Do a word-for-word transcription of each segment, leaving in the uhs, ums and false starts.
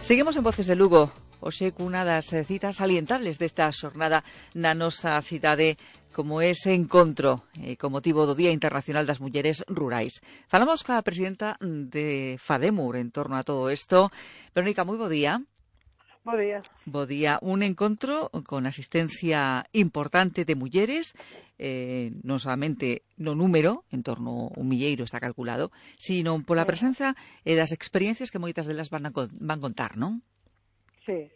Seguimos en Voces de Lugo, hoxe cunha das citas salientables desta xornada na nosa cidade, como ese encontro eh, con motivo do Día Internacional das Mulleres Rurais. Falamos ca presidenta de FADEMUR en torno a todo isto. Verónica, moi bo día. Bo día. Bo día. Un encontro con asistencia importante de mulleres, eh, non solamente no número, en torno a un milleiro está calculado, sino pola Sí. presenza e das experiencias que moitas delas van a van contar, non? Sí.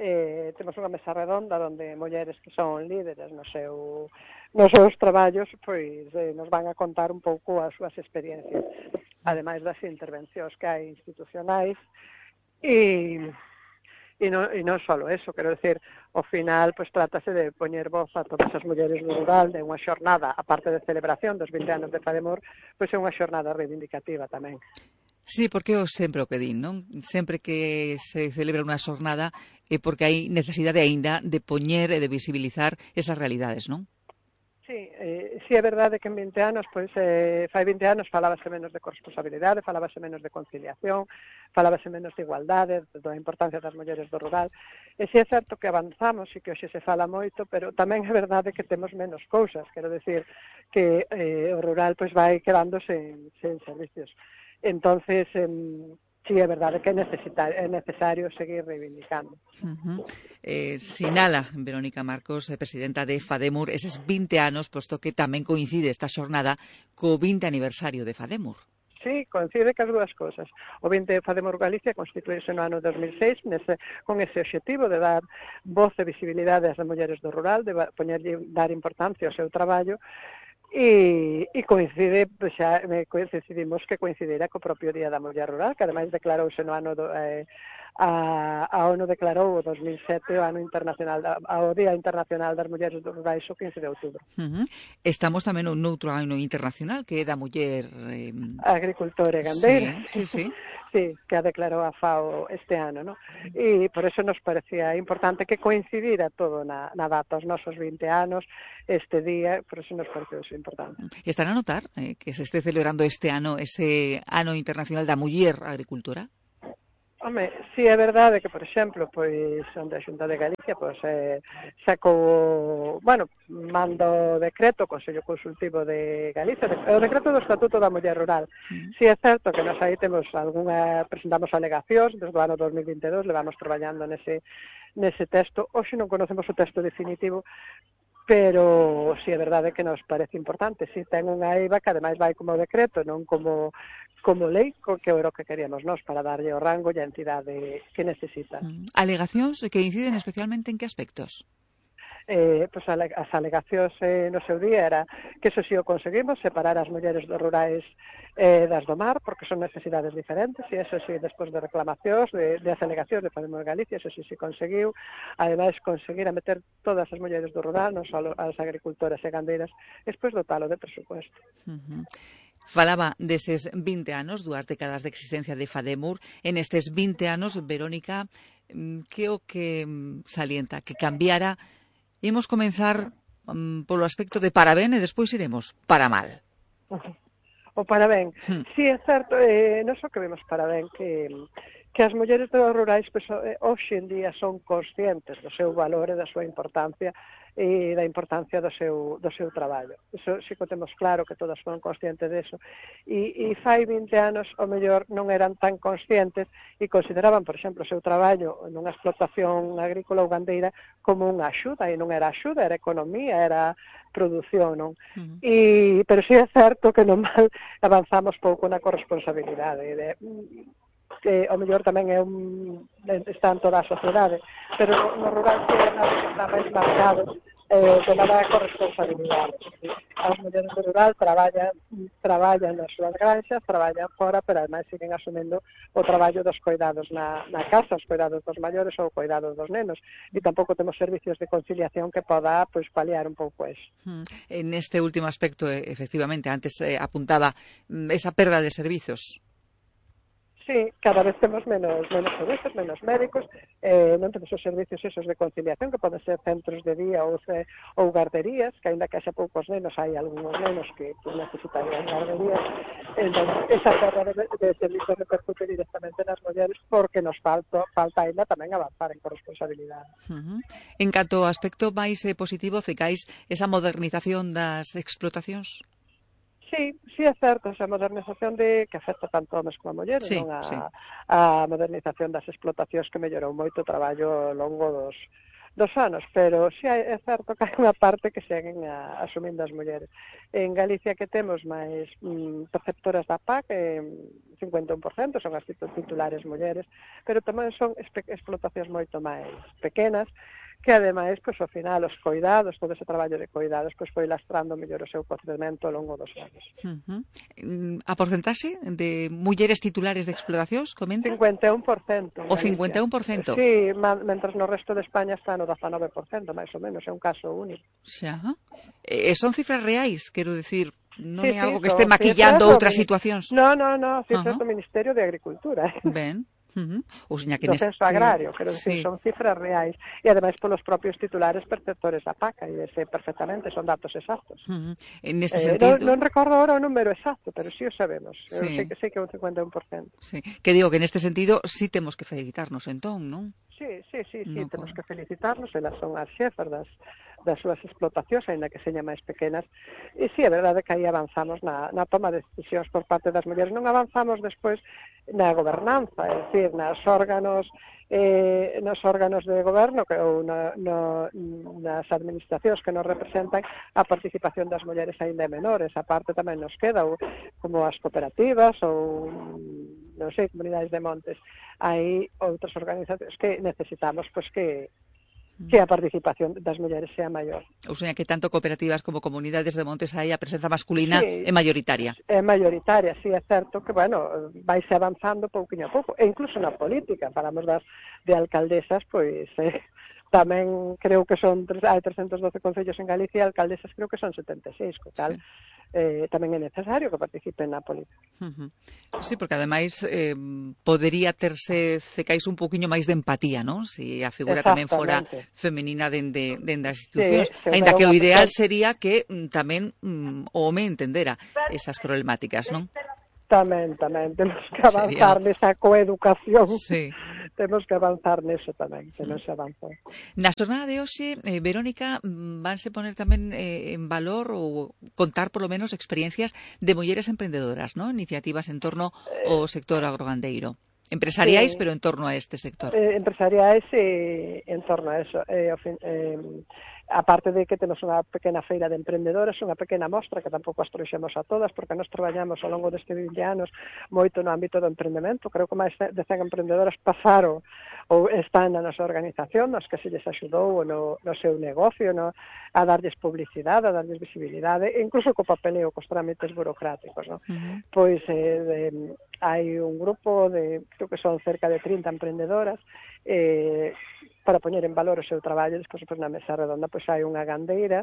Eh, temos unha mesa redonda onde mulleres que son líderes no seu, nos seus traballos pois eh, nos van a contar un pouco as súas experiencias, ademais das intervencións que hai institucionais e E non, e non só eso, quero decir, ao final, pois trátase de poñer voz a todas as mulleres do rural, de unha xornada, aparte de celebración dos vinte anos de FADEMUR, pois é unha xornada reivindicativa tamén. Sí, porque eu sempre o que din, non? Sempre que se celebra unha xornada é porque hai necesidade aínda de poñer e de visibilizar esas realidades, non? Sí, eh, sí é verdade que en vinte anos, pois, eh, fai vinte anos falábase menos de corresponsabilidade, falábase menos de conciliación, falábase menos de igualdade, da importancia das mulleres do rural. E si é certo que avanzamos e que hoxe se fala moito, pero tamén é verdade que temos menos cousas, quero decir que eh, o rural pois vai quedando sen, sen servicios. Entonces, eh, sí é verdade que é, é necesario seguir reivindicando. Uh-huh. Eh, sinala Verónica Marcos, eh, presidenta de FADEMUR, eses vinte anos, posto que tamén coincide esta xornada co vinte aniversario de FADEMUR. Sí, coincide que as dúas cousas. O vinte de FADEMUR Galicia constituíse no ano dos mil seis nese, con ese objetivo de dar voz e visibilidade ás mulleres do rural, de poñerlle, dar importancia ao seu traballo. E, e coincide, xa decidimos que coincidira co propio Día da Muller Rural, que ademais declarouse no ano do, eh, a, a ONU declarou o dos mil sete o ano internacional da, o Día Internacional das Mulleres Rurais o quince de outubro. Uh-huh. Estamos tamén un outro ano internacional que é da muller eh... agricultora e gandeira. Sí, sí, sí. Sí, que a declarou a FAO este ano, ¿no? E por eso nos parecía importante que coincidira todo na, na data, os nosos vinte anos, este día, por eso nos pareceu eso importante. Están a notar eh, que se esté celebrando este ano ese ano internacional da muller agricultora? Home, si é verdade que, por exemplo, pois onde a Xunta de Galicia pois eh, sacou, bueno, mando decreto, o Consello Consultivo de Galicia, de, o decreto do Estatuto da Muller Rural. Mm. Si é certo que nos aí temos algunha, presentamos alegacións desde o ano dos mil vinte e dous, levamos traballando nese nese texto. Hoxe non conocemos o texto definitivo, pero si é verdade que nos parece importante. Si ten unha eiva que ademais vai como decreto, non como como lei, que é o que queríamos nós para darlle o rango e a entidade que necesita. Mm. Alegacións que inciden especialmente en que aspectos? Eh, pues, as alegacións eh, no seu día era que eso si o conseguimos, separar as mulleres dos rurais eh, das do mar, porque son necesidades diferentes, e eso si, despois de reclamacións, de, de as alegacións de FADEMUR Galicia, eso si se conseguiu, ademais conseguir a meter todas as mulleres do rural, non só as agricultoras e gandeiras, despois dotalo de presupuesto. Uh-huh. Falaba deses vinte anos, dúas décadas de existencia de FADEMUR. En estes vinte anos, Verónica, que o que salienta, que cambiara. Imos comenzar um, polo aspecto de para ben e despois iremos para mal. O para ben. Hmm. Si é certo, eh, non só que vemos para ben, que, que as mulleres dos rurais pues, eh, hoxe en día son conscientes do seu valor e da súa importancia e da importancia do seu, do seu traballo. Iso sí que temos claro que todas foron conscientes deso. E, e fai vinte anos, o mellor, non eran tan conscientes e consideraban, por exemplo, o seu traballo nunha explotación agrícola ou gandeira como unha axuda, e non era axuda, era economía, era produción, non? Uh-huh. E, pero sí é certo que normal avanzamos pouco na corresponsabilidade de, que o mellor tamén é un, está en toda a sociedade, pero no rural que está máis marcado eh, de nada corresponsabilidade. As mulleres do rural traballan, traballan nas súas granxas, traballan fora, pero ademais siguen asumendo o traballo dos cuidados na, na casa, os cuidados dos maiores ou cuidados dos nenos, e tampouco temos servicios de conciliación que poda pois, paliar un pouco eso. Hmm. En este último aspecto, efectivamente, antes eh, apuntaba esa perda de servizos. Sí, Sí, cada vez temos menos menos servicios, menos médicos, eh, non temos os servicios esos de conciliación, que poden ser centros de día ou, ce, ou guarderías, que aínda que haxa poucos nenos, hai algúns nenos que, que necesitarían guarderías. Entón, esa perda de, de servicios repercute directamente nas mulleres, porque nos falta, falta aínda tamén avanzar en corresponsabilidade. Uh-huh. En canto ao aspecto máis eh, positivo, cecais esa modernización das explotacións? Sí, sí é certo, esa modernización de que afecta tanto homes como a mulleres, sí, non a, sí. a modernización das explotacións que mellorou moito o traballo ao longo dos, dos anos, pero sí é certo que hai unha parte que seguen a, asumindo as mulleres. En Galicia que temos máis mm, preceptoras da P A C, eh, cincuenta e un por cento son as titulares mulleres, pero tamén son explotacións moito máis pequenas, que ademais, pois, ao final, os coidados, todo ese traballo de coidados, pois, foi lastrando mellor o seu crecemento ao longo dos anos. Uh-huh. A porcentaxe de mulleres titulares de explotacións, comenta? cincuenta e un por cento. O cincuenta e un por cento? Sí, mentras no resto de España está no dezanove por cento, máis ou menos, é un caso único. Xa. E son cifras reais, quero dicir, non sí, é sí, algo que este maquillando outras situacións? No, no, no, cifras uh-huh. do Ministerio de Agricultura. Ben. Uh-huh. O seña que do neste... censo agrario, quero dicir, sí. Son cifras reais e ademais polos propios titulares perceptores da P A C, e ese perfectamente son datos exactos. Uh-huh. En este eh, sentido... Non, non recordo ahora o número exacto, pero sí o sabemos. Sí. Eu sei que sei que é un cincuenta e un por cento. Sí. Que digo que neste sentido sí temos que felicitarnos entón, non? Sí, sí, sí, sí, no, temos con... que felicitarnos, elas son as xefas das das súas explotacións, aínda que señan máis pequenas, e sí, é verdade que aí avanzamos na, na toma de decisións por parte das mulleres, non avanzamos despois na gobernanza, é dicir, nas órganos eh, nos órganos de goberno que, ou na, no, nas administracións que nos representan, a participación das mulleres aínda é menor, esa parte tamén nos queda, ou, como as cooperativas ou non sei, comunidades de montes, hai outras organizacións que necesitamos pois que que a participación das mulleres sea maior. Ou seja, que tanto cooperativas como comunidades de montes aí a presenza masculina sí, é maioritaria. É maioritaria, sí, é certo que, bueno, vaise avanzando pouquinho a pouco, e incluso na política, falamos das de alcaldesas, pois eh, tamén creo que son, hai trescentos doce concellos en Galicia, alcaldesas creo que son setenta e seis, co tal, sí. Eh, tamén é necesario que participen na política. Uh-huh. Sí, porque ademais eh, podería terse cecais un poquinho máis de empatía, non? Si a figura tamén fora femenina dende, dende as institucións, sí, ainda que o ideal sería que mm, tamén mm, o home entendera esas problemáticas, non? Tamén, tamén, temos que avanzar sería... nesa coeducación. Sí. Temos que avanzar neso tamén, que non se avanza. Na xornada de hoxe, eh, Verónica, vanse poner tamén eh, en valor ou contar polo menos experiencias de mulleres emprendedoras, ¿no? Iniciativas en torno ao sector agrogandeiro. Empresariais, sí. Pero en torno a este sector. Eh, empresariais e en torno a eso. Eh, eh, aparte de que temos unha pequena feira de emprendedoras, unha pequena mostra que tampouco as trouxemos a todas, porque nós traballamos ao longo deste vinte anos moito no ámbito do emprendemento. Creo que máis de cen emprendedoras pasaron ou están na nosa organización, nos que se lles axudou no, no seu negocio, no, a darlles publicidade, a darlles visibilidade, e incluso co papeleo, cos trámites burocráticos. No? Uh-huh. Pois eh, de, hai un grupo de, creo que son cerca de trinta emprendedoras, eh, para poñer en valor o seu traballo. Despois, pois, na mesa redonda, pois hai unha gandeira,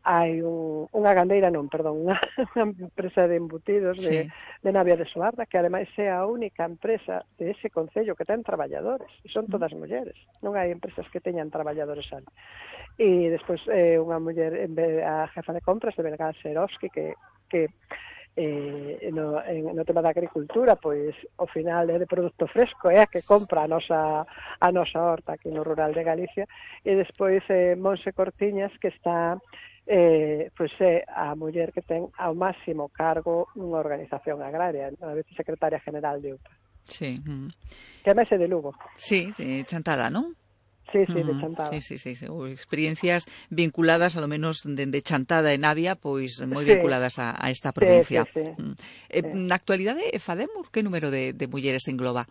hai un, unha gandeira, non, perdón, unha, unha empresa de embutidos de, sí. de Navia de Soarda, que ademais é a única empresa de ese concello que ten traballadores, e son todas mulleres, non hai empresas que teñan traballadores ali. E despois eh, unha muller, a jefa de compras de Belgán Serovski, que, que Eh, no, en, no tema da agricultura, pois ao final é de produto fresco, é a que compra a nosa a nosa horta aquí no rural de Galicia, e despois eh, Monse Cortiñas, que está eh, pois é a muller que ten ao máximo cargo nunha organización agraria, a vicesecretaria general de U P A. Sí. Mm. Que ademais é de Lugo. Sí, de Chantada, non? Sí, sí, de Chantada. Sí, sí, sí, sí. Experiencias vinculadas, a lo menos de, de Chantada en Navia, pois moi sí. vinculadas a, a esta provincia. Sí, sí, sí. Eh, sí. Na actualidade, Fademur, que número de, de mulleres engloba?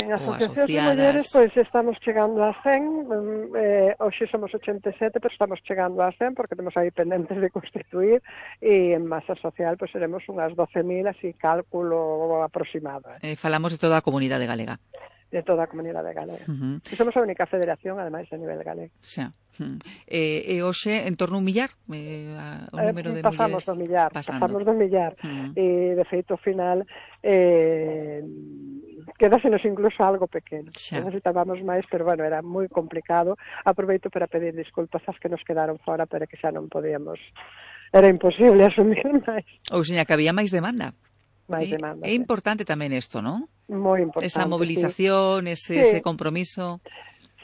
En asociacións de mulleres, pois estamos chegando a cen, eh, hoxe somos ochenta e sete, pero estamos chegando a cen, porque temos aí pendentes de constituir, e en masa social, pois seremos unhas doce mil, así cálculo aproximado. Eh, falamos de toda a comunidade galega. de toda a comunidade galega. Uh-huh. E somos a única federación, ademais, a nivel galego. Xa. Uh-huh. E, e hoxe, en torno a un millar, eh, o número eh, de pasamos mulleres... do millar, pasando. pasamos do millar. Uh-huh. E, de feito, ao final, eh, quedásenos incluso algo pequeno. Xa. Necesitábamos máis, pero, bueno, era moi complicado. Aproveito para pedir disculpas ás que nos quedaron fora, pero que xa non podíamos... Era imposible asumir máis. Ou seña, que había máis demanda. Máis Sí, demanda. é importante tamén isto, non? Moi importante. Esa movilización, sí. ese, Sí. ese compromiso.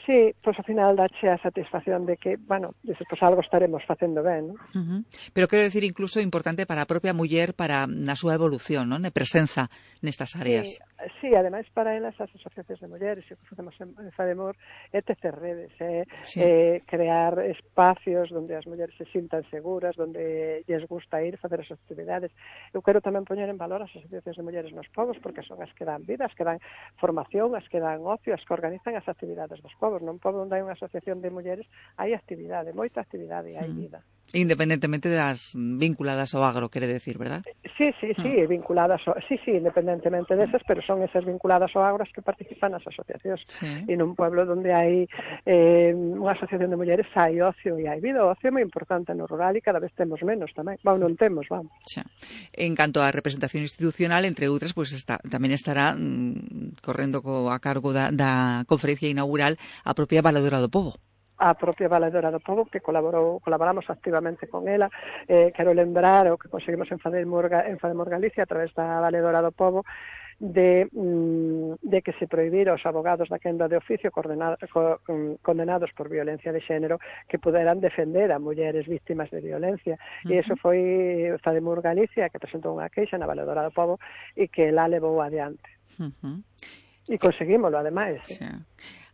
Sí, pois ao final dache a satisfacción de que, bueno, dices, pois algo estaremos facendo ben, non? Uh-huh. Pero quero decir incluso importante para a propia muller, para na súa evolución, non? De presenza nestas áreas. Sí, sí, ademais para elas as asociacións de mulleres, e o que facemos en Fademor é tecer redes, é Sí. eh, crear espacios onde as mulleres se sintan seguras, onde lles gusta ir facer as actividades. Eu quero tamén poñer en valor as asociacións de mulleres nos povos, porque son as que dan vida, as que dan formación, as que dan ocio, as que organizan as actividades dos povos. Non pobo onde hai unha asociación de mulleres hai actividade, moita actividade, hai vida. Independentemente das vinculadas ao agro, quere decir, verdad? Sí, sí, sí, mm. vinculadas ao, sí, sí, independentemente desas, pero son esas vinculadas ao agro as que participan nas asociacións. Sí. E nun pueblo onde hai eh, unha asociación de mulleres hai ocio e hai vida. O ocio é moi importante no rural e cada vez temos menos tamén. Bueno, non temos, vamos. Xa. En canto á representación institucional, entre outras, pues está, tamén estará mm, correndo co, a cargo da, da conferencia inaugural a propia Valedora do Pobo. A propia Valedora do Pobo, que colaborou, colaboramos activamente con ela. Eh, quero lembrar o que conseguimos en Fademor, en Fademor Galicia a través da Valedora do Pobo, de, de que se prohibira os abogados da quenda de oficio condenados, condenados por violencia de xénero que puderan defender a mulleres víctimas de violencia. Uh-huh. E iso foi Fademor Galicia que presentou unha queixa na Valedora do Pobo e que la levou adiante. Uh-huh. E conseguímolo, ademais. Sí.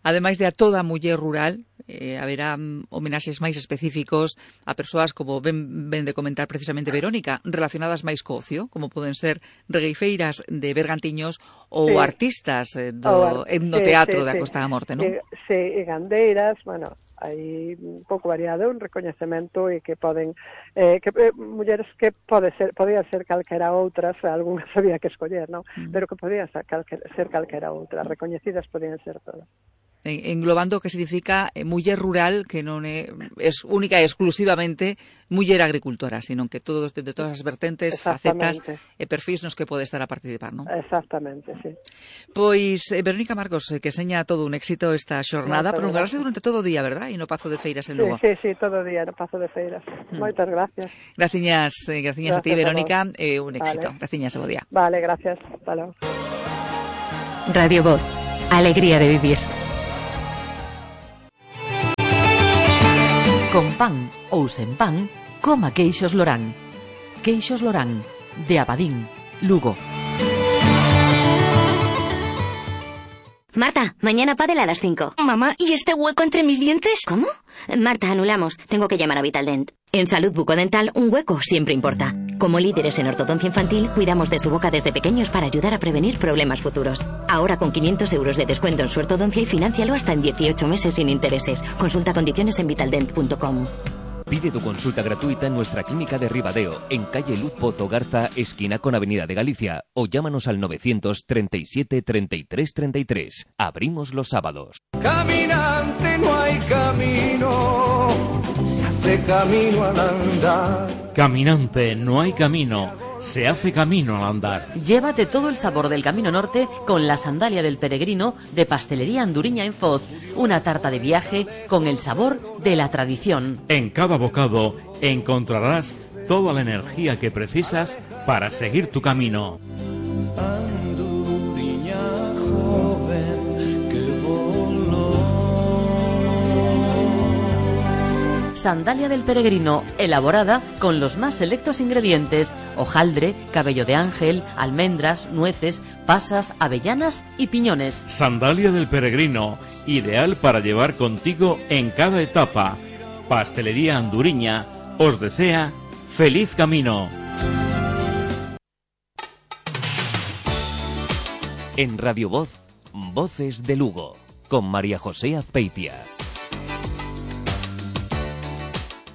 Ademais de a toda a muller rural, eh, haberá um, homenaxes máis específicos a persoas, como ven, ven de comentar precisamente Verónica, relacionadas máis co ocio, como poden ser regueifeiras de Bergantiños ou sí. artistas eh, do ar... etnoteatro sí, sí, da sí. Costa da Morte, non? Sí, sí, e gandeiras, bueno, hai un pouco variado, un recoñecemento e que poden eh, que eh, mulleres que pode ser, podían ser calquera outras, algunhas había que escoller, non? Mm. Pero que podían ser, calquera, ser calquera outra, recoñecidas podían ser todas. Englobando o que significa eh, muller rural, que non é, é única e exclusivamente muller agricultora, sino que todos, de todas as vertentes, facetas e perfis nos que pode estar a participar, non? Exactamente, sí. Pois, eh, Verónica Marcos, eh, que seña todo un éxito esta xornada, prolongarase durante todo o día, verdad? E no Pazo de Feiras en Lugo. Sí, sí, sí, todo o día no Pazo de Feiras. Mm. Moitas gracias. Graciñas, eh, graciñas a ti, Verónica, e eh, un éxito. Vale. Graciñas, bo día. Vale, gracias. Hasta logo. Radio Voz, alegría de vivir. Con pan ou sen pan, coma queixos Lorán. Queixos Lorán, de Abadín, Lugo. Marta, mañana pádel a las cinco. Mamá, ¿y este hueco entre mis dientes? ¿Cómo? Marta, anulamos. Tengo que llamar a Vitaldent. En Salud Bucodental, un hueco siempre importa. Como líderes en ortodoncia infantil, cuidamos de su boca desde pequeños para ayudar a prevenir problemas futuros. Ahora con quinientos euros de descuento en su ortodoncia y financialo hasta en dieciocho meses sin intereses. Consulta condiciones en vitaldent punto com. Pide tu consulta gratuita en nuestra clínica de Ribadeo, en calle Luz Pozo Garza, esquina con Avenida de Galicia, o llámanos al novecientos treinta y siete treinta y tres treinta y tres. Abrimos los sábados. Caminante no hay camino, se hace camino al andar. Caminante no hay camino, se hace camino al andar. Llévate todo el sabor del Camino Norte con la sandalia del peregrino de Pastelería Anduriña en Foz. Una tarta de viaje con el sabor de la tradición. En cada bocado encontrarás toda la energía que precisas para seguir tu camino. Anduriña joven que voló. Sandalia del peregrino, elaborada con los más selectos ingredientes: hojaldre, cabello de ángel, almendras, nueces, pasas, avellanas y piñones. Sandalia del peregrino, ideal para llevar contigo en cada etapa. Pastelería Anduriña os desea feliz camino. En Radio Voz, Voces de Lugo, con María José Azpeitia.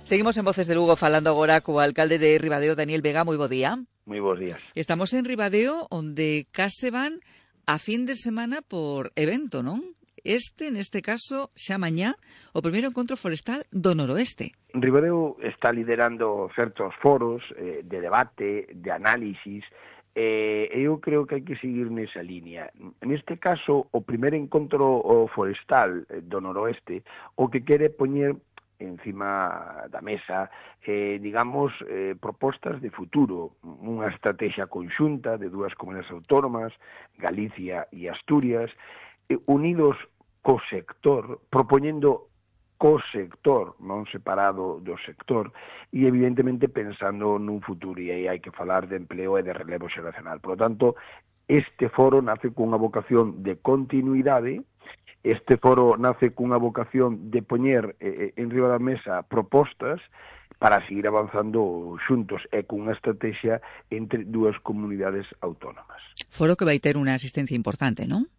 Seguimos en Voces de Lugo falando agora co alcalde de Ribadeo, Daniel Vega. Moi bo día. Moi bons días. Estamos en Ribadeo, onde case van a fin de semana por evento, non? Este, neste caso, xa mañá, o primeiro encontro forestal do Noroeste. Ribadeo está liderando certos foros eh, de debate, de análisis, e eh, eu creo que hai que seguir nesa línea. Neste caso, o primeiro encontro forestal do Noroeste, o que quere poñer encima da mesa, eh, digamos, eh, propostas de futuro, unha estrategia conxunta de dúas comunidades autónomas, Galicia e Asturias, eh, unidos co sector, propoñendo co sector, non separado do sector, e evidentemente pensando nun futuro, e aí hai que falar de empleo e de relevo xeracional. Por lo tanto, este foro nace cunha vocación de continuidade. Este foro nace cunha vocación de poñer eh, en riba da mesa propostas para seguir avanzando xuntos e cunha estrategia entre dúas comunidades autónomas. Foro que vai ter unha asistencia importante, non?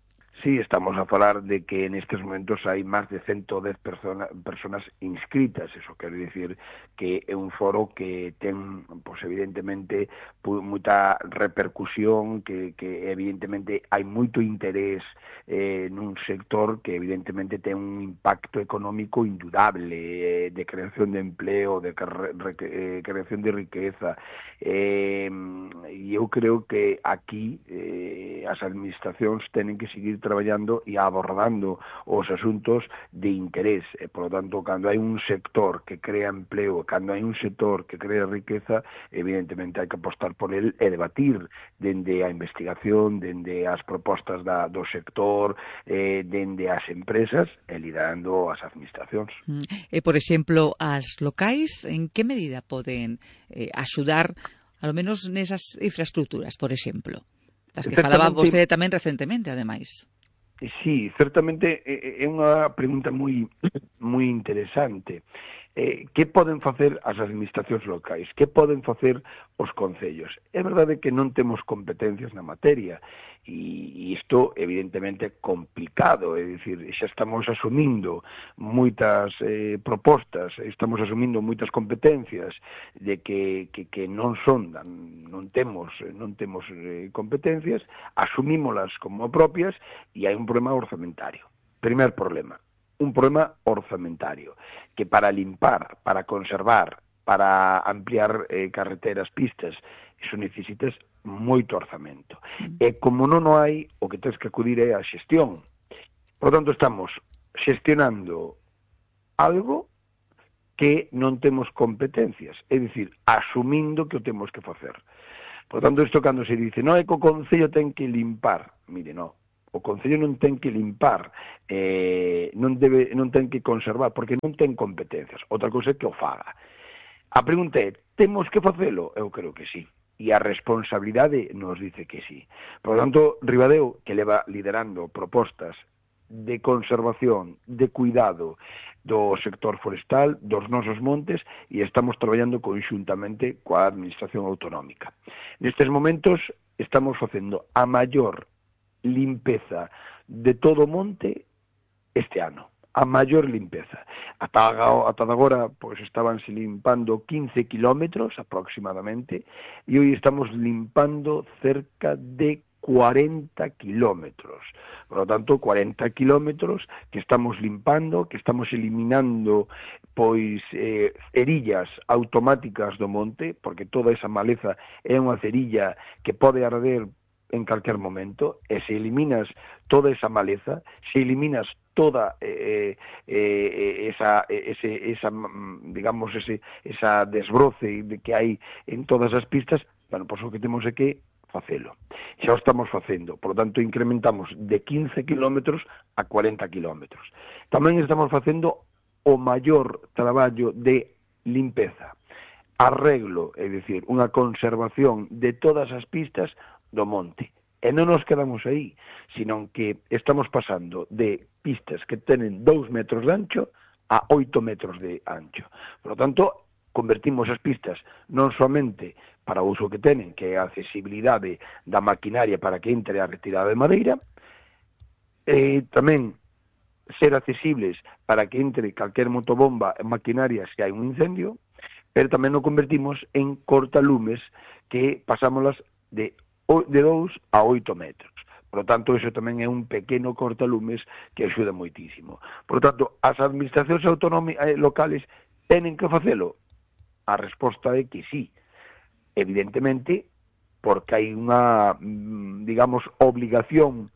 Sí, estamos a falar de que nestes momentos hai máis de ciento dez persona, personas inscritas. Eso quere dicir que é un foro que ten, pues, evidentemente, moita repercusión, que, que evidentemente hai moito interés eh, nun sector que evidentemente ten un impacto económico indudable, eh, de creación de empleo, de eh, creación de riqueza. E eh, eu creo que aquí eh, as administracións tenen que seguir traballando e abordando os asuntos de interés. E, por lo tanto, cando hai un sector que crea empleo, cando hai un sector que crea riqueza, evidentemente hai que apostar por el e debatir dende a investigación, dende as propostas da, do sector, eh, dende as empresas e liderando as administracións. E, por exemplo, as locais, en que medida poden eh, axudar, ao menos nesas infraestructuras, por exemplo? Das que falaba vostede tamén recentemente, ademais. Sí, certamente é unha pregunta moi moi interesante. Eh, que poden facer as administracións locais? Que poden facer os concellos? É verdade que non temos competencias na materia e isto evidentemente é complicado, é dicir, xa estamos asumindo moitas eh, propostas, estamos asumindo moitas competencias de que, que, que non son, non temos, non temos eh, competencias, asumímolas como propias e hai un problema orzamentario. Primer problema. Un problema orzamentario, que para limpar, para conservar, para ampliar eh, carreteras, pistas, iso necesitas moito orzamento. Mm. E como non o hai, o que tens que acudir é a xestión. Por lo tanto, estamos xestionando algo que non temos competencias, é dicir, asumindo que o temos que facer. Por lo tanto, isto cando se dice, non é que o Concello ten que limpar, mire, non. O Concello non ten que limpar, eh, non, debe, non ten que conservar, porque non ten competencias. Outra cousa é que o faga. A pregunta é, temos que facelo? Eu creo que sí. E a responsabilidade nos dice que sí. Por lo tanto, Ribadeo, que leva liderando propostas de conservación, de cuidado do sector forestal, dos nosos montes, e estamos traballando conxuntamente coa Administración Autonómica. Nestes momentos estamos facendo a maior limpeza de todo o monte este ano, a maior limpeza. Ata, ata agora, pois, estabanse limpando quince kilómetros aproximadamente e hoy estamos limpando cerca de cuarenta kilómetros. Por lo tanto, cuarenta kilómetros que estamos limpando, que estamos eliminando pois eh, cerillas automáticas do monte, porque toda esa maleza é unha cerilla que pode arder en calquer momento, e se eliminas toda esa maleza, se eliminas toda eh, eh, esa, ese, esa, digamos, ese, esa desbroce que hai en todas as pistas, bueno, pois o que temos é que facelo. Xa o estamos facendo, por lo tanto, incrementamos de quince kilómetros a cuarenta kilómetros. Tamén estamos facendo o maior traballo de limpeza, arreglo, é dicir, unha conservación de todas as pistas do monte. E non nos quedamos aí, sino que estamos pasando de pistas que tenen dous metros de ancho a oito metros de ancho. Por lo tanto, convertimos as pistas non somente para o uso que tenen, que é a accesibilidade da maquinaria para que entre a retirada de madeira, e tamén ser accesibles para que entre calquer motobomba e maquinaria se hai un incendio, pero tamén o convertimos en cortalumes que pasámolas de de dous a oito metros. Por lo tanto, iso tamén é un pequeno cortalumes que axuda moitísimo. Por lo tanto, as administracións autonómicas locales tenen que facelo? A resposta é que sí. Evidentemente, porque hai unha, digamos, obligación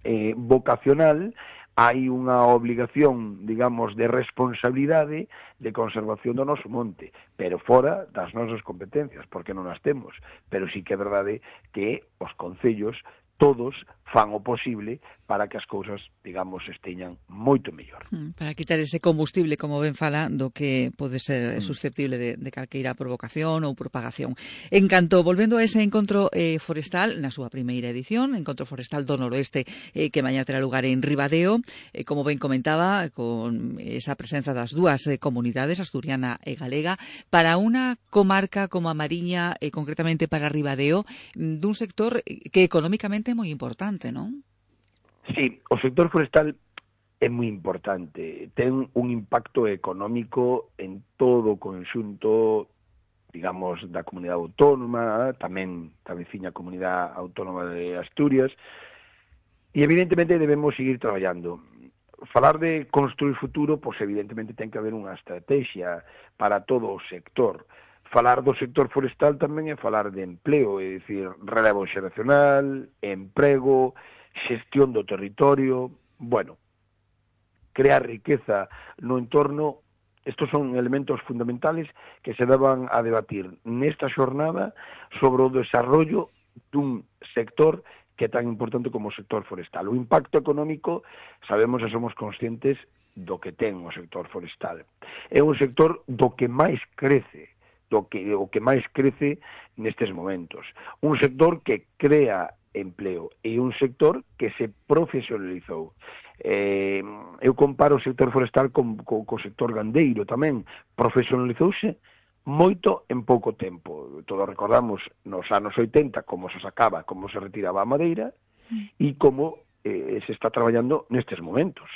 eh, vocacional, hai unha obligación, digamos, de responsabilidade de conservación do noso monte, pero fora das nosas competencias, porque non as temos. Pero sí que é verdade que os concellos todos fan o posible para que as cousas, digamos, esteñan moito mellor. Para quitar ese combustible, como ben fala, do que pode ser susceptible de, de calqueira provocación ou propagación. En canto, volvendo a ese encontro eh, forestal, na súa primeira edición, Encontro Forestal do Noroeste, eh, que mañá terá lugar en Ribadeo, eh, como ben comentaba, con esa presenza das dúas eh, comunidades, asturiana e galega, para unha comarca como a Mariña, eh, concretamente para Ribadeo, dun sector que económicamente é moi importante, non? Sí, o sector forestal é moi importante. Ten un impacto económico en todo o conxunto, digamos, da comunidade autónoma, tamén da veciña comunidade autónoma de Asturias, e evidentemente debemos seguir traballando. Falar de construir futuro, pois evidentemente ten que haber unha estrategia para todo o sector. Falar do sector forestal tamén é falar de empleo, é dicir, relevo xeracional, emprego, xestión do territorio, bueno, crear riqueza no entorno. Estos son elementos fundamentales que se daban a debatir nesta xornada sobre o desarrollo dun sector que é tan importante como o sector forestal. O impacto económico, sabemos e somos conscientes do que ten o sector forestal. É un sector do que máis crece, do que, o que máis crece nestes momentos. Un sector que crea empleo e un sector que se profesionalizou. Eh, eu comparo o sector forestal con, con, co sector gandeiro tamén. Profesionalizouse moito en pouco tempo. Todos recordamos nos anos oitenta como se sacaba, como se retiraba a madeira e como eh, se está traballando nestes momentos.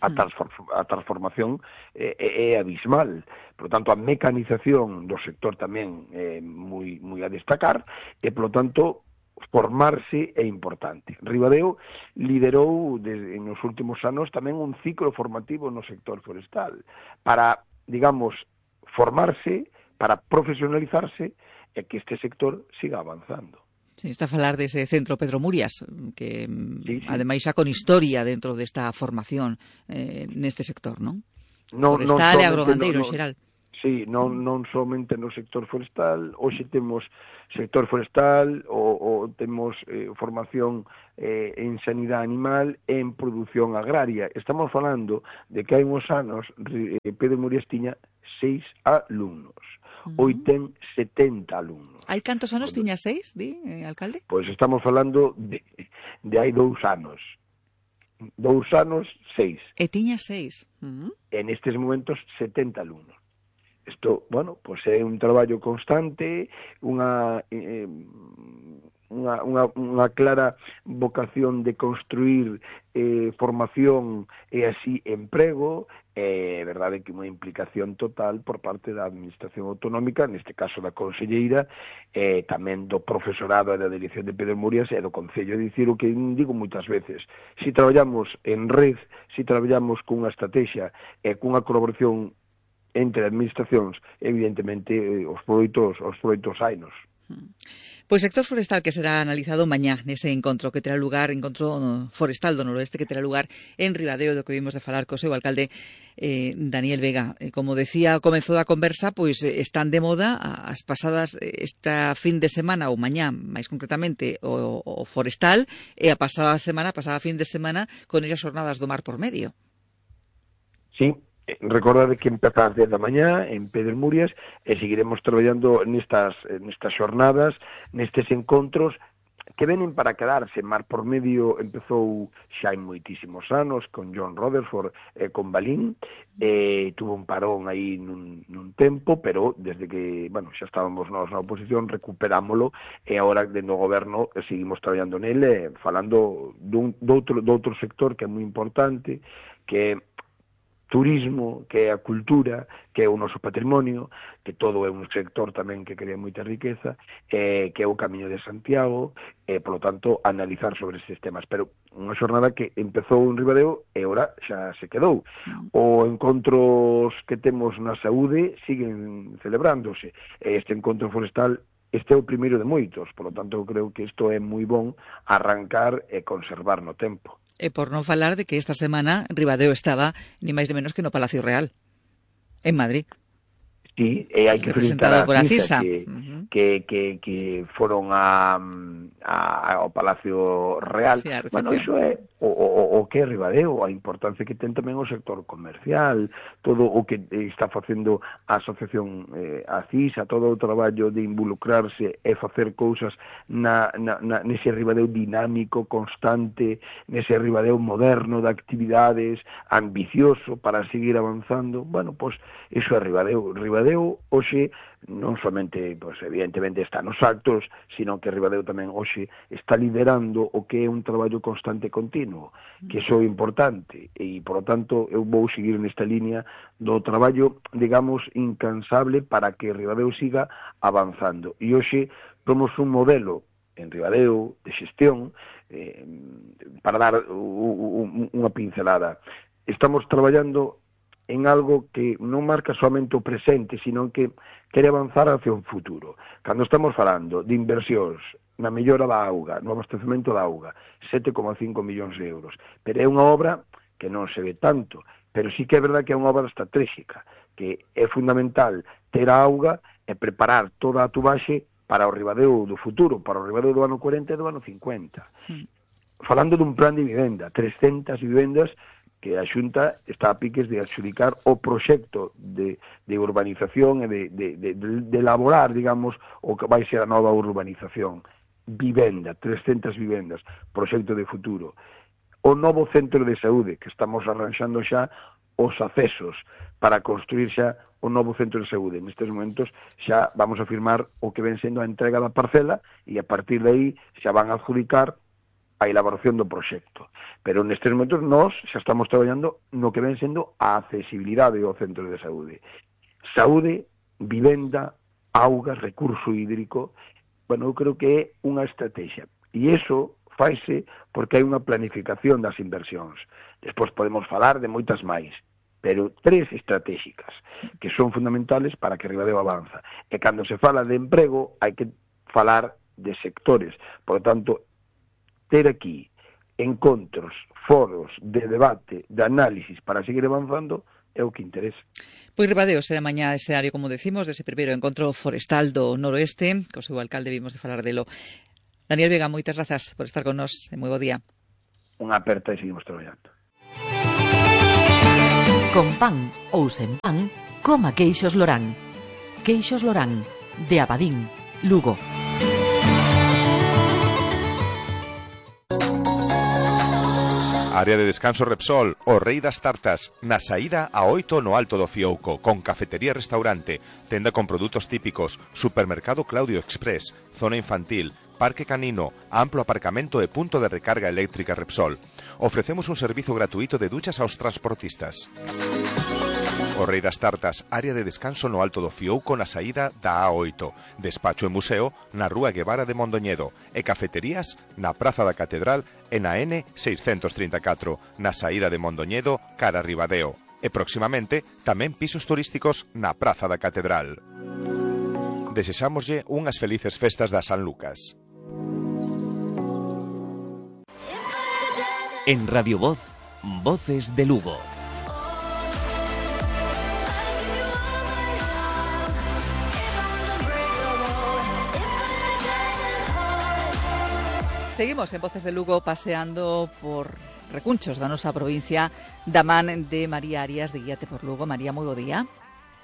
A, transform a transformación é, é abismal. Por lo tanto, a mecanización do sector tamén é moi, moi a destacar e, por lo tanto, formarse é importante. Ribadeo liderou desde, en os últimos anos tamén un ciclo formativo no sector forestal para, digamos, formarse, para profesionalizarse e que este sector siga avanzando. Sí, está a falar dese centro Pedro Murias, que sí, sí. ademais xa con historia dentro desta formación eh, neste sector, non? No, forestal non e agrogandeiro no, en xeral. Sí, non, non somente no sector forestal, hoxe temos sector forestal, o, o temos eh, formación eh, en sanidade animal e en produción agraria. Estamos falando de que hai uns anos eh, Pedro Murias tiña seis alumnos. Hoy ten setenta alumnos. Hai cantos anos tiña seis, di, eh, alcalde? Pois estamos falando de, de hai dous anos. Dous anos, seis. E tiña seis. Uh -huh. En estes momentos, setenta alumnos. Isto, bueno, pois é un traballo constante, unha, eh, unha, unha, unha clara vocación de construir eh, formación e así emprego, é eh, verdade que unha implicación total por parte da Administración Autonómica, neste caso da Conselleira, e eh, tamén do profesorado e da Dirección de Pedro Murias e do Concello. É dicir, o que digo moitas veces, se traballamos en red, se traballamos cunha estrategia e cunha colaboración entre administracións, evidentemente os proitos, os proitos hainos. Pois sector forestal que será analizado mañá nese encontro que terá lugar, encontro forestal do Noroeste que terá lugar en Ribadeo, do que vimos de falar co seu alcalde eh, Daniel Vega. Eh, como decía ao comezo da conversa, pois eh, están de moda as pasadas esta fin de semana ou mañá, máis concretamente o, o forestal, e a pasada semana, a pasada fin de semana con esas xornadas do mar por medio. Sí. Recordade que empeza ás dez da mañá en Pedro Murias e seguiremos traballando nestas, nestas xornadas, nestes encontros que venen para quedarse. Mar por Medio empezou xa hai moitísimos anos con John Rutherford e con Balín, e tuvo un parón aí nun, nun tempo, pero desde que, bueno, xa estábamos nós na oposición, recuperámolo e agora dentro do goberno seguimos traballando nele, falando dun, doutro, doutro sector que é moi importante, que turismo, que é a cultura, que é o noso patrimonio, que todo é un sector tamén que crea moita riqueza, eh, que é o Camiño de Santiago, e, polo tanto, analizar sobre estes temas. Pero unha xornada que empezou en Ribadeo e ora xa se quedou. O encontros que temos na saúde siguen celebrándose. Este encontro forestal, este é o primeiro de moitos, polo tanto, eu creo que isto é moi bon arrancar e conservar no tempo. E por non falar de que esta semana Ribadeo estaba ni máis ni menos que no Palacio Real, en Madrid. Sí, e hai que felicitar a CISA, que, uh-huh. que, que, que foron a, a, ao Palacio Real. Sí, bueno, iso é o, o, o que é Ribadeo, a importancia que ten tamén o sector comercial, todo o que está facendo a asociación, eh, a CISA, todo o traballo de involucrarse e facer cousas na, na, na, nese Ribadeo dinámico, constante, nese Ribadeo moderno de actividades, ambicioso para seguir avanzando. Bueno, pois pues, iso é Ribadeo. Ribadeo hoxe non somente, pues, evidentemente está nos actos, sino que Ribadeo tamén hoxe está liderando o que é un traballo constante e continuo, que iso é importante, e, por lo tanto, eu vou seguir nesta línea do traballo, digamos, incansable para que Ribadeo siga avanzando. E hoxe somos un modelo en Ribadeo de xestión, eh, para dar unha pincelada. Estamos traballando en algo que non marca somente o presente, sino que quere avanzar hacia un futuro. Cando estamos falando de inversións na mellora da auga, no abastecemento da auga, sete coma cinco millóns de euros, pero é unha obra que non se ve tanto, pero sí que é verdad que é unha obra estratégica, que é fundamental ter a auga e preparar toda a tubaxe para o Ribadeo do futuro, para o Ribadeo do ano cuarenta e do ano cincuenta. Sí. Falando dun plan de vivenda, trescentas vivendas que a Xunta está a piques de adxudicar o proxecto de, de urbanización e de, de, de, de elaborar, digamos, o que vai ser a nova urbanización. Vivenda, trescentas vivendas, proxecto de futuro. O novo centro de saúde, que estamos arranxando xa os accesos para construir xa o novo centro de saúde. Nestes momentos xa vamos a firmar o que ven sendo a entrega da parcela e a partir de aí xa van a adjudicar a elaboración do proxecto. Pero nestes momentos nós xa estamos traballando no que ven sendo a accesibilidade ao centro de saúde. Saúde, vivenda, auga, recurso hídrico, bueno, eu creo que é unha estrategia. E iso faise porque hai unha planificación das inversións. Despois podemos falar de moitas máis, pero tres estratégicas que son fundamentales para que Ribadeo avanza. E cando se fala de emprego, hai que falar de sectores. Por lo tanto, ter aquí encontros, foros de debate, de análisis para seguir avanzando é o que interesa. Pois Ribadeo será mañá escenario, como decimos, dese primeiro encontro forestal do noroeste, que o seu alcalde vimos de falar delo. Daniel Vega, moitas grazas por estar con nós, e moi bo día. Unha aperta e seguimos traballando. Con pan ou sen pan, coma queixos Lorán. Queixos Lorán, de Abadín, Lugo. Área de descanso Repsol, o rei das tartas, na saída a oito no Alto do Fiouco, con cafetería e restaurante, tenda con produtos típicos, supermercado Claudio Express, zona infantil, parque canino, amplo aparcamento e punto de recarga eléctrica Repsol. Ofrecemos un servizo gratuito de duchas aos transportistas. O rei das tartas, área de descanso no Alto do Fiouco na saída da A oito, despacho e museo na Rúa Guevara de Mondoñedo e cafeterías na Praza da Catedral e na N seiscentos trinta e catro, na saída de Mondoñedo cara a Ribadeo. E próximamente tamén pisos turísticos na Praza da Catedral. Desexámoslle unhas felices festas da San Lucas. En Radio Voz, Voces de Lugo. Seguimos en Voces de Lugo paseando por recunchos da nosa provincia da man de María Arias de Guíate por Lugo. María, moi bo día.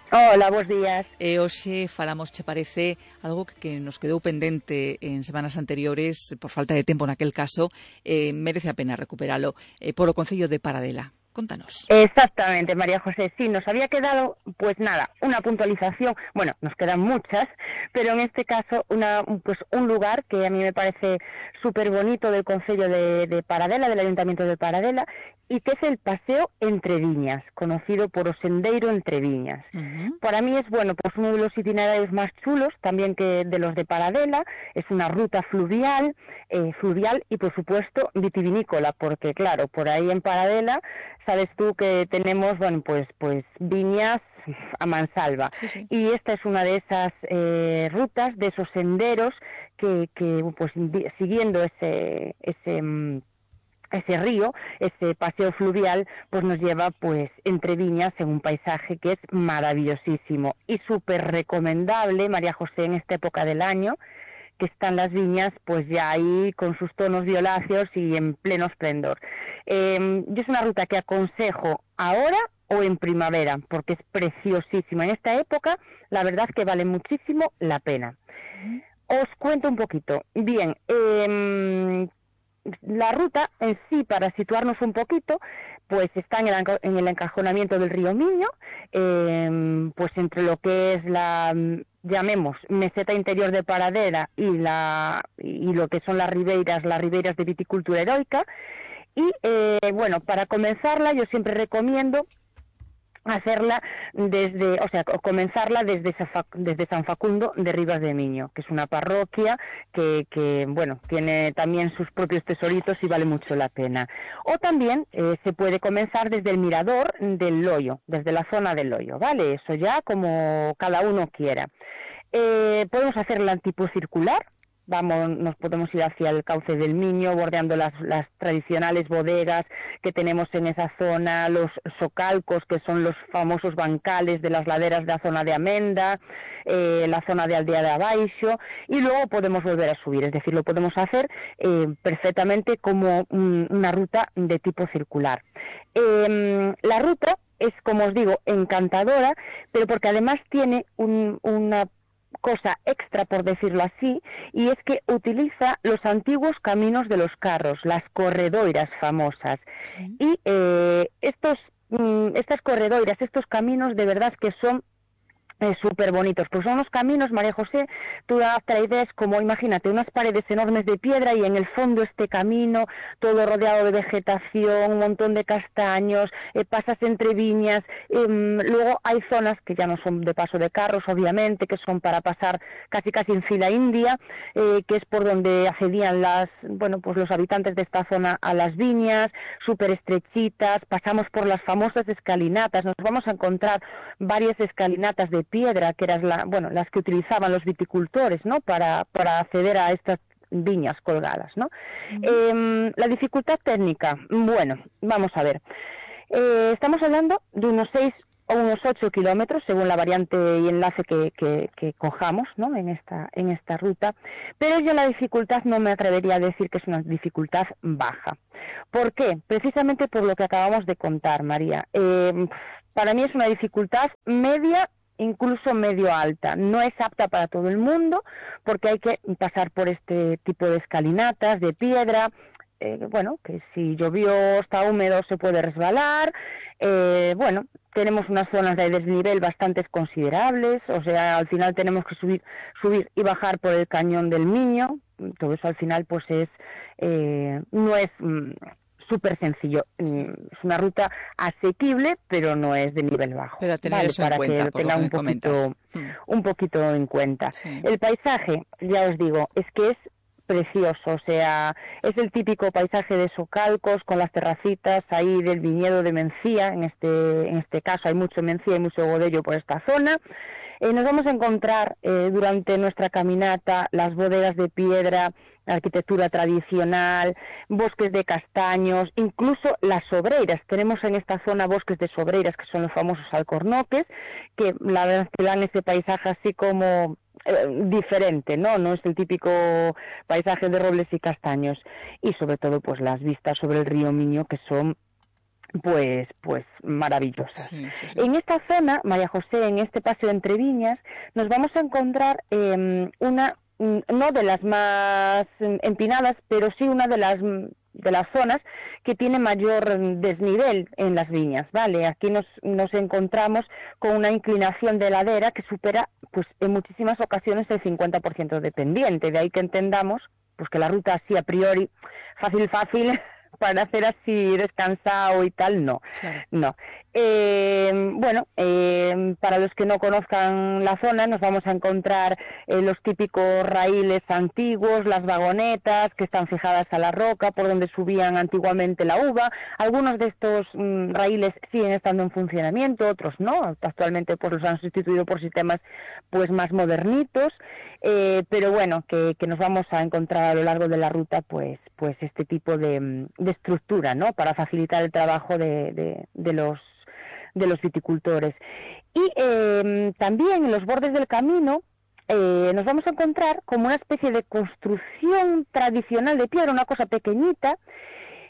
Hola, bons días. E hoxe falamos, che parece, algo que, que nos quedou pendente en semanas anteriores, por falta de tempo naquel caso, eh, merece a pena recuperalo, eh, polo Concello de Paradela. Contanos. Exactamente, María José. Sí, nos había quedado, pues nada, una puntualización. Bueno, nos quedan muchas, pero en este caso una, pues un lugar que a mí me parece súper bonito del Concello de, de Paradela, del Ayuntamiento de Paradela, y que es el Paseo Entre Viñas, conocido por o Sendeiro Entre Viñas. Uh-huh. Para mí es, bueno, pues uno de los itinerarios más chulos, también que de los de Paradela. Es una ruta fluvial, eh, fluvial y, por supuesto, vitivinícola, porque, claro, por ahí en Paradela, sabes tú que tenemos, bueno, pues, pues viñas a mansalva. Sí, sí. Y esta es una de esas eh, rutas, de esos senderos que, que pues, siguiendo ese... ese ese río, ese paseo fluvial, pues nos lleva pues entre viñas en un paisaje que es maravillosísimo y súper recomendable, María José, en esta época del año, que están las viñas pues ya ahí con sus tonos violáceos y en pleno esplendor. Eh, yo es una ruta que aconsejo ahora o en primavera, porque es preciosísima. En esta época, la verdad que vale muchísimo la pena. Os cuento un poquito. Bien, eh, la ruta en sí, para situarnos un poquito, pues está en el, en el encajonamiento del río Miño, eh, pues entre lo que es la, llamemos, meseta interior de Paradela y la y lo que son las ribeiras, las ribeiras de viticultura heroica. Y eh, bueno, para comenzarla yo siempre recomiendo hacerla desde, o sea, comenzarla desde, desde San Facundo de Ribas de Miño, que es una parroquia que, que bueno, tiene también sus propios tesoritos y vale mucho la pena. O también eh, se puede comenzar desde el mirador del Loyo, desde la zona del Loyo, ¿vale? Eso ya como cada uno quiera. Eh, podemos hacerla en tipo circular. Vamos, nos podemos ir hacia el cauce del Miño, bordeando las, las tradicionales bodegas que tenemos en esa zona, los socalcos, que son los famosos bancales de las laderas de la zona de Amenda, eh, la zona de Aldea de Abaixo, y luego podemos volver a subir, es decir, lo podemos hacer eh, perfectamente como un, una ruta de tipo circular. Eh, la ruta es, como os digo, encantadora, pero porque además tiene un, una cosa extra, por decirlo así, y es que utiliza los antiguos caminos de los carros, las corredoiras famosas. Sí. Y eh, estos, mm, estas corredoiras, estos caminos de verdad que son Eh, súper bonitos, pues son unos caminos, María José, tú hasta la idea es como, imagínate, unas paredes enormes de piedra y en el fondo este camino, todo rodeado de vegetación, un montón de castaños, eh, pasas entre viñas, eh, luego hay zonas que ya no son de paso de carros, obviamente, que son para pasar casi casi en fila india, eh, que es por donde accedían las, bueno, pues los habitantes de esta zona a las viñas, súper estrechitas, pasamos por las famosas escalinatas, nos vamos a encontrar varias escalinatas de piedra, que eran la, bueno, las que utilizaban los viticultores, ¿no? Para, para acceder a estas viñas colgadas, ¿no? Uh-huh. Eh, la dificultad técnica, bueno, vamos a ver. Eh, estamos hablando de unos seis o unos ocho kilómetros, según la variante y enlace que, que, que cojamos, ¿no? En esta, en esta ruta, pero yo la dificultad no me atrevería a decir que es una dificultad baja. ¿Por qué? Precisamente por lo que acabamos de contar, María. Eh, para mí es una dificultad media, incluso medio alta. No es apta para todo el mundo porque hay que pasar por este tipo de escalinatas de piedra, eh, bueno, que si llovió, está húmedo, se puede resbalar. Eh, bueno, tenemos unas zonas de desnivel bastante considerables, o sea, al final tenemos que subir, subir y bajar por el cañón del Miño. Todo eso al final pues es, eh, no es mm, súper sencillo. Es una ruta asequible, pero no es de nivel bajo. Pero a tener ¿vale? eso Para en cuenta, que lo tenga un poquito, un poquito en cuenta. Sí. El paisaje, ya os digo, es que es precioso, o sea, es el típico paisaje de socalcos con las terracitas ahí del viñedo de Mencía, en este, en este caso hay mucho Mencía y mucho Godello por esta zona. Eh, nos vamos a encontrar eh, durante nuestra caminata las bodegas de piedra, la arquitectura tradicional, bosques de castaños, incluso las sobreiras. Tenemos en esta zona bosques de sobreiras, que son los famosos alcornoques, que la verdad que dan ese paisaje así como eh, diferente, ¿no? No es el típico paisaje de robles y castaños. Y sobre todo, pues las vistas sobre el río Miño, que son pues pues maravillosas. Sí, sí, sí. En esta zona, María José, en este paseo entre viñas, nos vamos a encontrar eh, una, no de las más empinadas, pero sí una de las de las zonas que tiene mayor desnivel en las viñas, ¿vale? Aquí nos, nos encontramos con una inclinación de ladera que supera, pues en muchísimas ocasiones, el cincuenta por ciento de pendiente, de ahí que entendamos pues que la ruta así a priori, fácil, fácil, para hacer así descansado y tal, no, claro. no. Eh, bueno, eh, para los que no conozcan la zona, nos vamos a encontrar eh, los típicos raíles antiguos, las vagonetas que están fijadas a la roca por donde subían antiguamente la uva. Algunos de estos mm, raíles siguen estando en funcionamiento, otros no. Actualmente pues los han sustituido por sistemas pues más modernitos, eh, pero bueno, que, que nos vamos a encontrar a lo largo de la ruta pues pues este tipo de, de estructura, ¿no? Para facilitar el trabajo de, de, de los de los viticultores. Y eh, también en los bordes del camino eh, nos vamos a encontrar como una especie de construcción tradicional de piedra, una cosa pequeñita,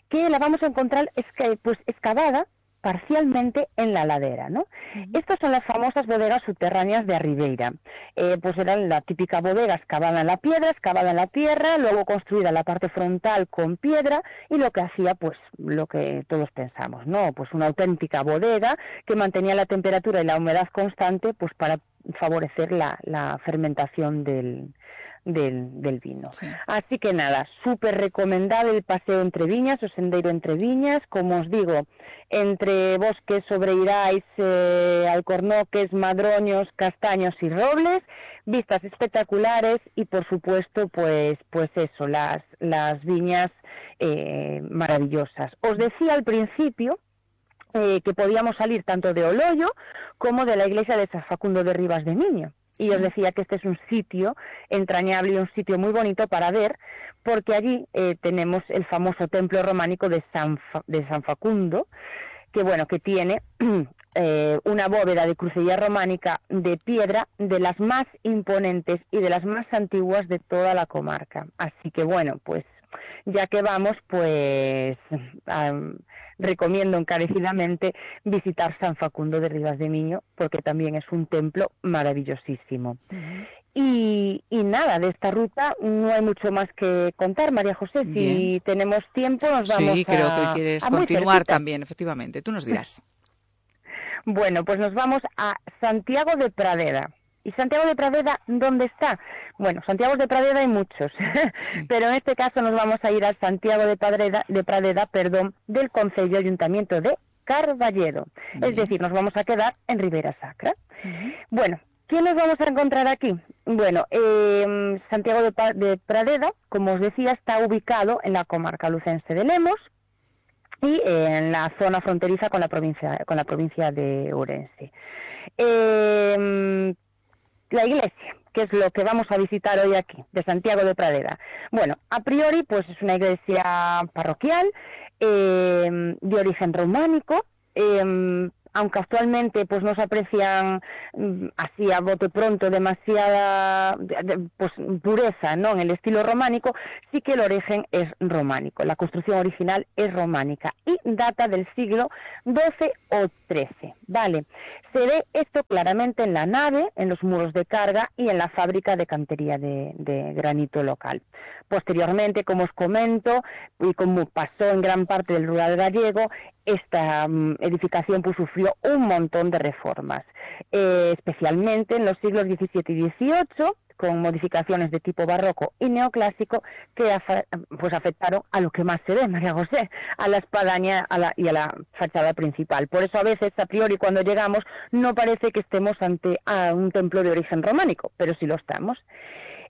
que la vamos a encontrar esca- pues excavada parcialmente en la ladera, ¿no? Uh-huh. Estas son las famosas bodegas subterráneas de Arribeira. Eh, pues eran la típica bodega excavada en la piedra, excavada en la tierra, luego construida la parte frontal con piedra, y lo que hacía, pues, lo que todos pensamos, ¿no? Pues una auténtica bodega que mantenía la temperatura y la humedad constante, pues para favorecer la, la fermentación del Del, del vino. Sí. Así que nada, súper recomendable el paseo entre viñas, o sendeiro entre viñas, como os digo, entre bosques, sobreirais, eh, alcornoques, madroños, castaños y robles, vistas espectaculares y por supuesto pues pues eso, las, las viñas eh, maravillosas. Os decía al principio eh, que podíamos salir tanto de Oloyo como de la iglesia de San Facundo de Ribas de Miño. Y sí. Os decía que este es un sitio entrañable y un sitio muy bonito para ver, porque allí eh, tenemos el famoso templo románico de San, Fa- de San Facundo, que bueno, que tiene eh, una bóveda de crucería románica de piedra de las más imponentes y de las más antiguas de toda la comarca. Así que bueno, pues ya que vamos, pues um, recomiendo encarecidamente visitar San Facundo de Ribas de Miño, porque también es un templo maravillosísimo. Uh-huh. Y, y nada, de esta ruta no hay mucho más que contar, María José. Bien. Si tenemos tiempo nos vamos sí, creo a, que quieres continuar también, efectivamente. Tú nos dirás. Bueno, pues nos vamos a Santiago de Pradera. ¿Y Santiago de Pradera dónde está? Bueno, Santiago de Pradera hay muchos, sí. Pero en este caso nos vamos a ir a Santiago de Pradera, de Pradera, perdón, del Concello Ayuntamiento de Carballedo. Bien. Es decir, nos vamos a quedar en Ribera Sacra. Sí. Bueno, ¿qué nos vamos a encontrar aquí? Bueno, eh, Santiago de, pa- de Pradera, como os decía, está ubicado en la comarca lucense de Lemos y eh, en la zona fronteriza con la provincia, con la provincia de Ourense. Eh, La iglesia, que es lo que vamos a visitar hoy aquí, de Santiago de Pradera. Bueno, a priori, pues es una iglesia parroquial, eh, de origen románico, eh, aunque actualmente pues no se aprecian así a bote pronto demasiada pues pureza, ¿no?, en el estilo románico, sí que el origen es románico, la construcción original es románica y data del siglo doce o trece, ¿vale? Se ve esto claramente en la nave, en los muros de carga y en la fábrica de cantería de, de granito local. Posteriormente, como os comento, y como pasó en gran parte del rural gallego, esta um, edificación pues sufrió un montón de reformas, eh, especialmente en los siglos diecisiete y dieciocho, con modificaciones de tipo barroco y neoclásico que afa- pues afectaron a lo que más se ve, María José, a la espadaña a la, y a la fachada principal. Por eso a veces, a priori, cuando llegamos, no parece que estemos ante a un templo de origen románico, pero sí lo estamos.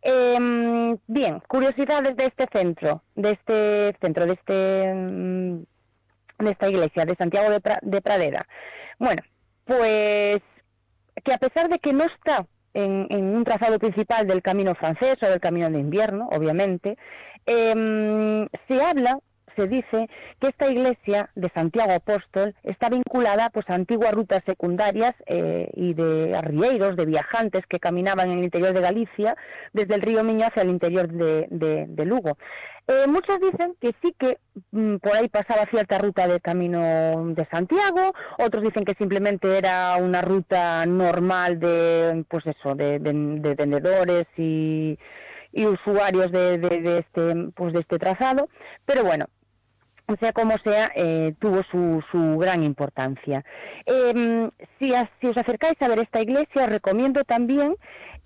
Eh, bien, curiosidades de este centro, de este centro, de este de esta iglesia de Santiago de, pra, de Pradera. Bueno, pues que a pesar de que no está en, en un trazado principal del camino francés o del camino de invierno, obviamente, eh, se habla, se dice que esta iglesia de Santiago Apóstol está vinculada pues a antiguas rutas secundarias eh, y de arrieros, de viajantes que caminaban en el interior de Galicia, desde el río Miño hacia el interior de, de, de Lugo. Eh, muchos dicen que sí que mm, por ahí pasaba cierta ruta de camino de Santiago, otros dicen que simplemente era una ruta normal de, pues eso, de, de, de vendedores y, y usuarios de, de, de este, pues de este trazado, pero bueno, sea como sea, eh, tuvo su, su gran importancia. Eh, si, a, si os acercáis a ver esta iglesia, os recomiendo también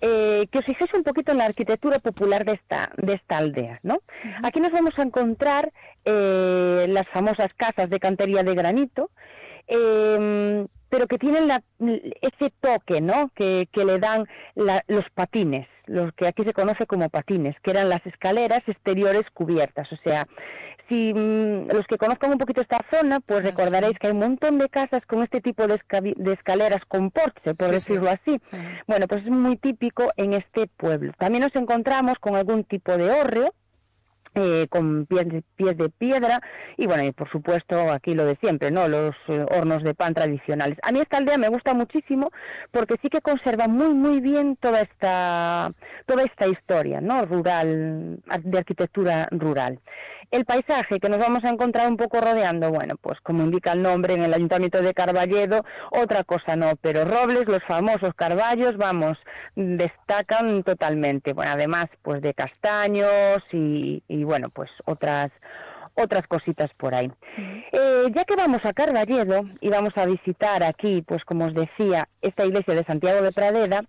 eh, que os fijéis un poquito en la arquitectura popular de esta, de esta aldea, ¿no? Uh-huh. Aquí nos vamos a encontrar eh, las famosas casas de cantería de granito, eh, pero que tienen la, ese toque, ¿no?, que, que le dan la, los patines, los que aquí se conoce como patines, que eran las escaleras exteriores cubiertas. O sea, si mmm, los que conozcan un poquito esta zona, pues ah, recordaréis sí. que hay un montón de casas con este tipo de, esca- de escaleras con porche, por sí, decirlo sí. así. Uh-huh. Bueno, pues es muy típico en este pueblo. También nos encontramos con algún tipo de hórreo, Eh, con pies de, pies de piedra y bueno, y por supuesto aquí lo de siempre, ¿no?, los eh, hornos de pan tradicionales. A mí esta aldea me gusta muchísimo porque sí que conserva muy muy bien toda esta toda esta historia, ¿no?, rural, de arquitectura rural. El paisaje que nos vamos a encontrar un poco rodeando, bueno, pues como indica el nombre, en el Ayuntamiento de Carballedo, otra cosa no, pero robles, los famosos carballos, vamos, destacan totalmente. Bueno, además, pues de castaños y, y bueno, pues otras otras cositas por ahí. Eh, ya que vamos a Carballedo y vamos a visitar aquí, pues como os decía, esta iglesia de Santiago de Pradeda,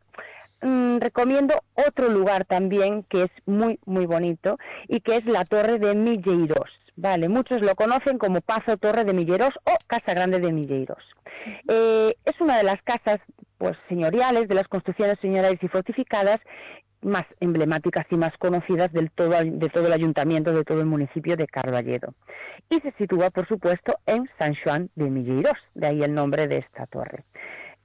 Mm, recomiendo otro lugar también que es muy muy bonito y que es la Torre de Milleirós. Vale, muchos lo conocen como Pazo Torre de Milleirós o Casa Grande de Milleirós. Eh, es una de las casas pues señoriales, de las construcciones señoriales y fortificadas más emblemáticas y más conocidas del todo, de todo el ayuntamiento, de todo el municipio de Carballedo. Y se sitúa, por supuesto, en San Xoán de Milleirós, de ahí el nombre de esta torre.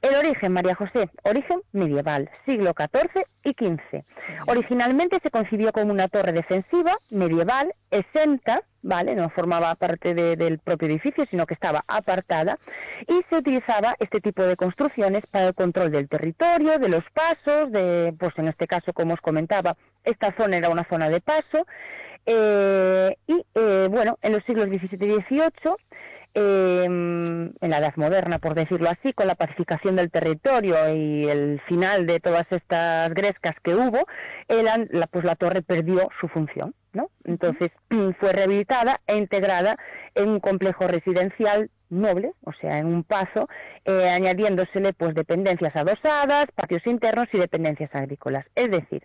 El origen, María José, origen medieval, siglo catorce y quince. Originalmente se concibió como una torre defensiva medieval, exenta, ¿vale?, no formaba parte de, del propio edificio, sino que estaba apartada, y se utilizaba este tipo de construcciones para el control del territorio, de los pasos, de, pues en este caso, como os comentaba, esta zona era una zona de paso, eh, y, eh, bueno, en los siglos diecisiete y dieciocho, Eh, en la Edad Moderna, por decirlo así, con la pacificación del territorio y el final de todas estas grescas que hubo, eran, la, pues la torre perdió su función, ¿no? Entonces fue rehabilitada e integrada en un complejo residencial noble, o sea, en un pazo, eh, añadiéndosele pues dependencias adosadas, patios internos y dependencias agrícolas. Es decir,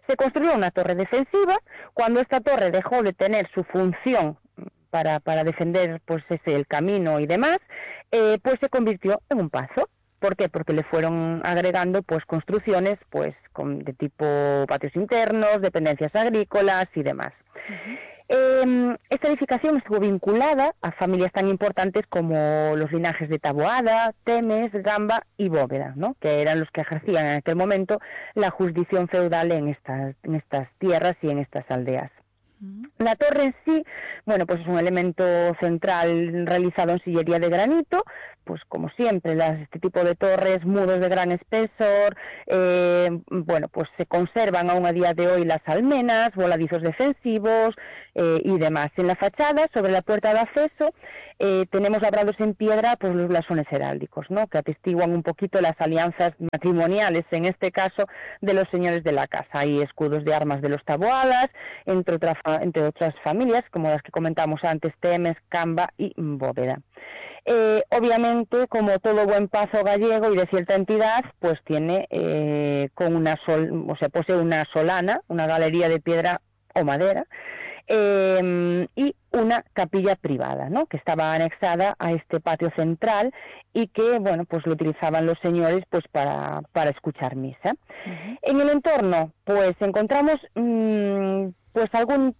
se construyó una torre defensiva. Cuando esta torre dejó de tener su función Para, para defender pues ese el camino y demás, eh, pues se convirtió en un pazo. ¿Por qué? Porque le fueron agregando pues construcciones pues con, de tipo patios internos, dependencias agrícolas y demás. Uh-huh. Eh, esta edificación estuvo vinculada a familias tan importantes como los linajes de Taboada, Temes, Gamba y Bóveda, ¿no?, que eran los que ejercían en aquel momento la jurisdicción feudal en estas, en estas tierras y en estas aldeas. La torre en sí, bueno, pues es un elemento central realizado en sillería de granito, pues como siempre, las, este tipo de torres, muros de gran espesor, eh, bueno, pues se conservan aún a día de hoy las almenas, voladizos defensivos eh, y demás. En la fachada, sobre la puerta de acceso, eh, tenemos labrados en piedra pues los blasones heráldicos, ¿no?, que atestiguan un poquito las alianzas matrimoniales, en este caso, de los señores de la casa. Hay escudos de armas de los Taboadas, entre otras, entre otras familias, como las que comentamos antes, Temes, Camba y Bóveda. Eh, obviamente, como todo buen pazo gallego y de cierta entidad, pues tiene eh, con una sol, o sea, posee una solana, una galería de piedra o madera, eh, y una capilla privada, ¿no?, que estaba anexada a este patio central y que, bueno, pues lo utilizaban los señores pues para, para escuchar misa. Uh-huh. En el entorno, pues encontramos mmm, pues algún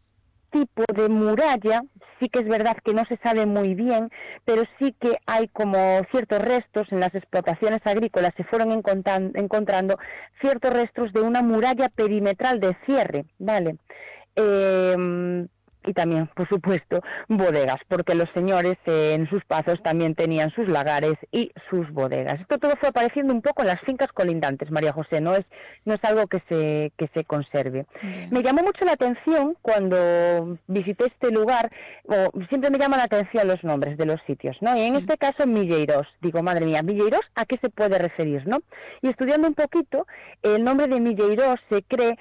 tipo de muralla. Sí que es verdad que no se sabe muy bien, pero sí que hay como ciertos restos en las explotaciones agrícolas, se fueron encontrando ciertos restos de una muralla perimetral de cierre, ¿vale? Eh, y también, por supuesto, bodegas, porque los señores eh, en sus pazos también tenían sus lagares y sus bodegas. Esto todo fue apareciendo un poco en las fincas colindantes, María José, no es no es algo que se que se conserve. Bien. Me llamó mucho la atención cuando visité este lugar, o siempre me llaman la atención los nombres de los sitios, ¿no? Y en sí. este caso Milleirós, digo, madre mía, Milleirós, ¿a qué se puede referir, no? Y estudiando un poquito, el nombre de Milleirós se cree